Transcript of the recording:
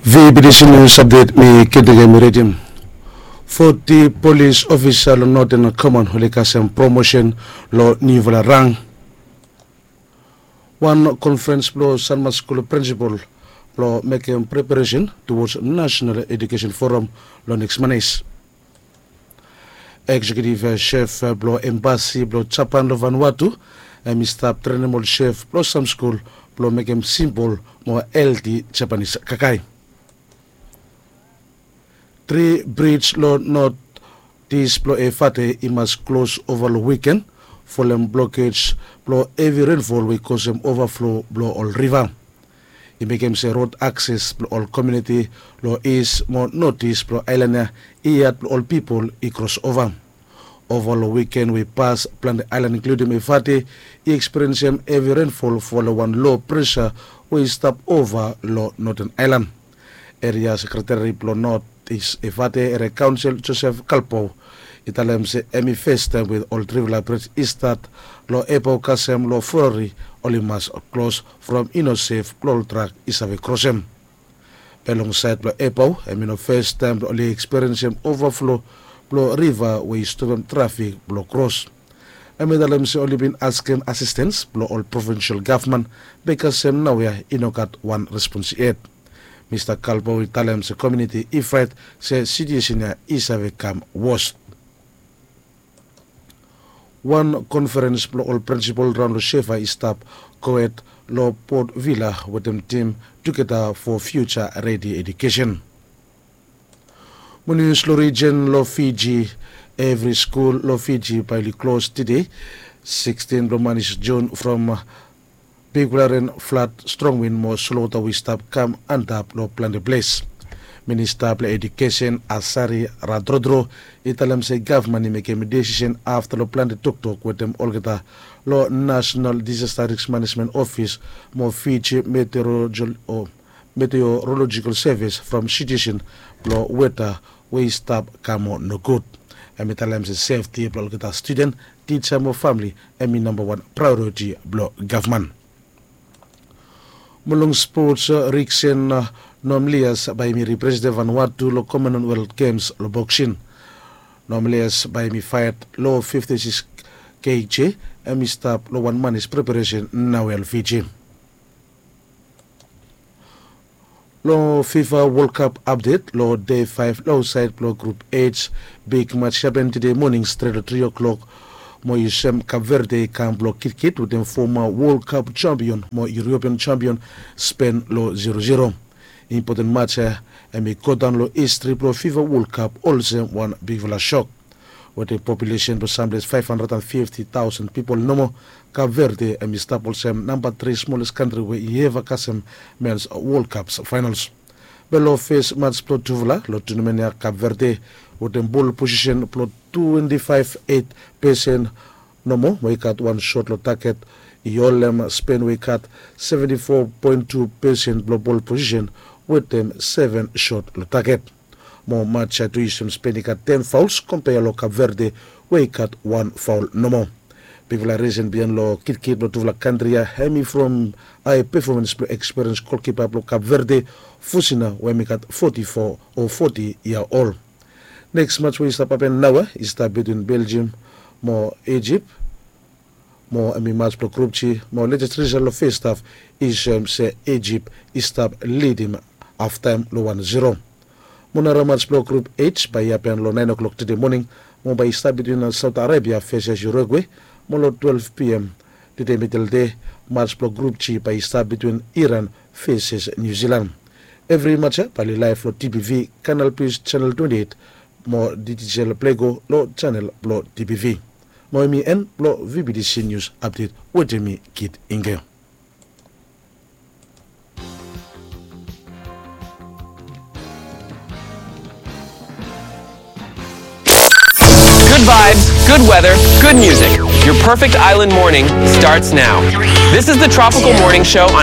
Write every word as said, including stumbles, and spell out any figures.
Vibidisi nius apdet mi keting em i redim. Foti polis ofisa long Northern Command oli kasem promosen long niufala rang. Wan konferens blong Sanma Skul prinsipal blong mekem preparesen towards National Education Forum long neks Manis. Eksekutiv sef blong embasi blong Japan long Vanuatu em i stap trenem ol sef blong sam skul blong mekem simpol mo helti Japanis kakae. Tri brij long notis blong Efate i mas klos ova long wiken folem blokej blong hevi renfol we i kosem ovaflo blong ol riva. I mekem se rod akses blong ol komuniti long is mo notis blong aelan ya i yat blong ol pipol i kros ova. Ova long wiken we i pas plante aelan inkludim Efate i ekspiriensem hevi renfol folem wan lo presa we i stap ova long Noten Aelan. Eria sekreteri blong notis Efate eria kaonsel Josef Kalpo i talem se em i festaem we ol trifala brij i stat long Epao kasem long Fori oli mas klos from i no sef blong ol trak i save krosem. Be long saed blong Epao em i no festaem blong oli ekspiriensem ovaflo blong riva we i stopem trafik blong kros. Em i talem se oli bin askem asistens blong ol provinsel gavman be kasem naoia i no gat wan respons yet. Mista Kalpo i talem se komuniti i fraet se situesen ya i save kam wos. Wan konferens blong ol prinsipal raon long Shefa i stap gohed long Port Vila wetem tim Tugeta fo Fiuja Redi Edukesen. Mo nius long rijen long Fiji, evri skul long Fiji bae oli klos tede sikstin blong manis Jun from bigfala ren, flad, strong win mo solwota we i stap kam antap long plante ples. Minista blong Edukesen Asari Radrodro i talem se gavman i mekem desisen afta long plante toktok wetem olgeta long National Disaster Risk Management Office mo Fiji Meteorological Service from situesen blong weta we i stap kam moa nogud. Em i talem se sefti blong olgeta studen, tija mo famle em i nambawan praeoriti blong gavman. Mo long spots, Riksen Nomlias bae hem i representem Vanuatu long Commonwealth Games long boksin. Nomlias bae hem i faet long fifti sikis kg, hem i stap long wan manis preparesen naoia long Fiji. Long FIFA World Cup apdet, long dei faef long aotsaed blong grup H, big mats i hapen tede moning stret long tri o'clock. Mo i sem Cape Verde i kam blong kitkit wetem foma World Cup jampion mo European jampion Spen long zero zero. Impoten mats ya hem i godaon long histri blong FIFA World Cup olsem wan bigfala sok. Wetem populesen blong samples faef handred and fifti taosen pipol nomo, Cape Verde hem i stap olsem namba tri smoles kantri we i eva kasem mens World Cup faenols. Be long fes mats blong tufala long tunamen ya, Cape Verde wetem bol posisen blong twenti faef eit pesen nomo we i gat wan sot long taget, i holem Spen we i gat seventi fo poen tu pesen blong bol posisen wetem seven sot long taget. Mo mats ya tu i sem Spen i gat ten faols kompea long Cape Verde we i gat wan faol nomo. Bigfala risen biaen long kitkit blong tufala kantri ya hem i from ae pefomans blong ekspiriens golkipa blong Cape Verde, Fusina, we hem i gat foti fo o foti yia ol. Neks mats we i stap hapen naoia i stap bitwin Belgium mo Ijip. Mo hem i mats blong grup G mo lejes risal long fes haf i soem se Ijip i stap lidim haftaem long wan zero. Mo nara mats blong grup H bae i hapen long naen o'clock tede moning mo bae i stap bitwin Saot Arebia feses Urugue. Mo long twelef p m tede midelde, mats blong grup G bae i stap bitwin Iran feses Niu Silan. Evri mats ya bae oli laef long D B V Canal Plus janel twenti eit mo D T G L Play Go long janel blong D B V. Mo hem i en blong V B T C Nius Apdet wetem mi, Kit Ingel. Good vibes, good weather, good music. Your perfect island morning starts now. This is the Tropical Morning Show